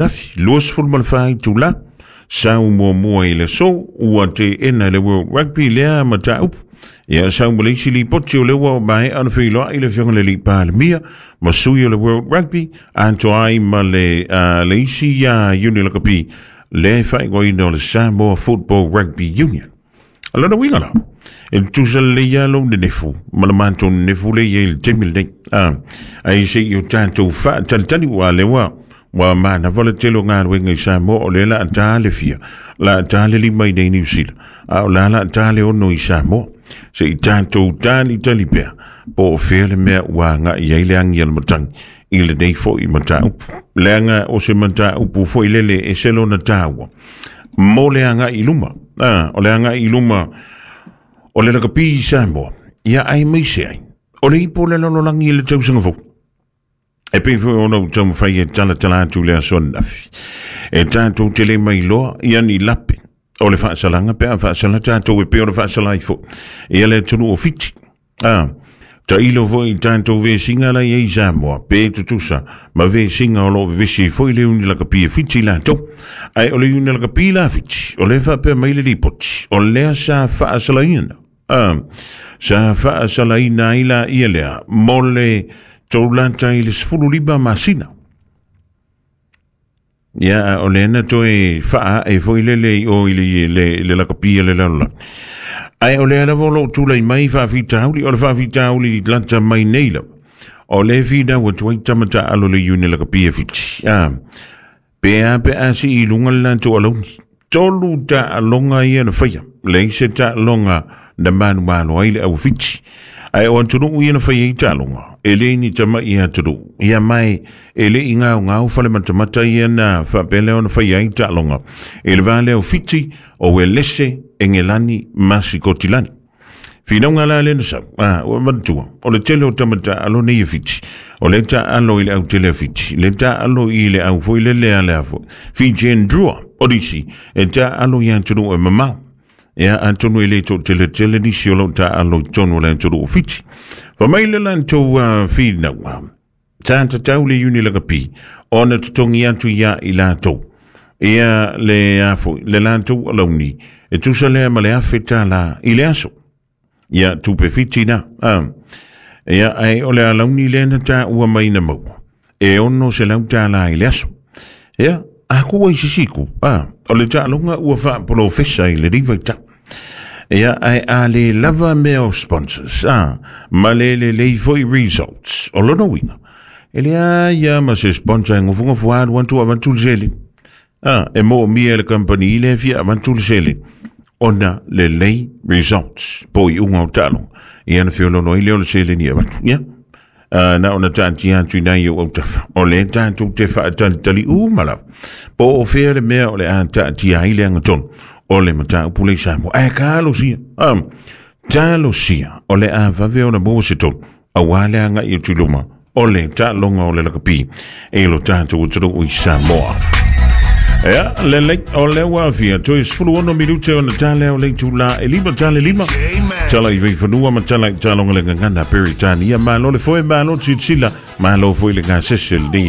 Afi, 24 itula, sau muamua i le aso, ua teena e le World Rugby lea mataupu. Ia sau ma le isi lipoti o lea ua maea ona feiloai le Afioga i le Alii Palemia ma sui o le World Rugby, atoa ai ma le, le isi Iuni Lakapi lea e faaigoaina o le Samoa Football Rugby Union. O lona uiga la, e tutusa lelei lava lou nenefu ma le matou nenefu lea e i ai i le taimi lenei. Ai se i o tatou faatalitali aua lea ua ua manava le tele o galuega i Samoa, o lea la a ta le fia, la a ta le 5 i nei Niu Sila, a o la la a ta le 6 i Samoa. Se i tatou talitali pea po o fea le mea ua agai i ai le agi a le matagi i lenei foi mataupu. Leaga o se mataupu foi lele e ese lona taua mo le agai i luma. O le agai i luma o le lakapi i Samoa, ia aemaise ai o le ipu o le lalolagi i le tausaga fou. E pei foi ona ou taumafai e talatala atu le aso ananafi, e tatou te le mailoa ia ni lape o le faasalaga pe a faasala tatou e pei ona faasala ai foi ia le atunuu o Fiti. Tailo foi i tatou vesiga la i ai i Samoa, pe tutusa ma vesiga o lo o vevesi ai foi le iuni lakapi e Fiti latou. Ae o le iuni lakapi la Fiti, o lea e faapea mai le lipoti, o lea sa faasalaina, sa faasalaina ai la ia lea mo le toulata i le 15 masina. Ia, o lea na toe faaee foi lele i o i le lakapi a le lalolagi. Ae o lea lava o lo o tulai mai faafitauli, o le faafitauli lata mai nei lava. O lea e finau atu ai tama taaalo le iuni lakapi e Fiti. Pe a pe a sii i luga le latou alauni. 3 taaloga ia na faia, leai se taaloga na manumalo ai le au Fiti. Ae o atunuu ia na faia ai taaloga, e le ni tama'i atunuu. Ia mai e le i gaogao fale matamata ia na faapea lea ona faia ai taaloga. I le va lea o Fiti, o Uelese, Engelani ma Sikotilani. Finauga la lea na sau, ua manatua, o le tele o tama taaalo nei e Fiti, o lea taaalo i le au tele a Fiti, le taaalo i le au foi lele a le a foi, Fijian Drua, o nisi, e taaalo i atunuu e mamao. Ia, atonu e le toatele tele nisi o lo o taaalo i totonu o le atunuu o Fiti. Fai mai le latou finauga, sa tatau le iuni lakapi ona totogi atu ia i latou. Ia le a foi, le latou alauni, e tusa lea ma le $1,000 i le aso. Ia, tupe Fiti na. Ia, ae o le alauni lea na taua mai na maua, e $600 i le aso. Ia, a kua i sisiku, o le taaloga ua faapolofesa i lenei vaitau. Ia, ae a le lava mea o sponsors, ma le lelei foi results, o lona uiga, e leai lava ma se sponsor e gofogofoa alu atu avatu le seleni. E moomia e le kamupani lea e fia avatu le seleni, ona lelei results, po o iuga o taaloga. Ia na feoloolo ai lea o le seleni e avatu. Ia, na ona taatia atu i nai ou autafa, o lea tatou te faatalitali uma lava, po o fea le mea o le a taatia ai le agatonu o le mataupu lea i Samoa. Ae talosia, talosia, o le a vave ona maua se tonu, aua le agai atu i luma o le taaloga o le lakapi i lo tatou atunuu i Samoa. Ia, lelei, o lea ua afia, toe 16 minute ona tale o le itula e 5 tale 5. Tala i Vaifanua ma tala i Taloga le Gagana, Peretania, malo le foe, malo silasila, malo foi le gasese lenei.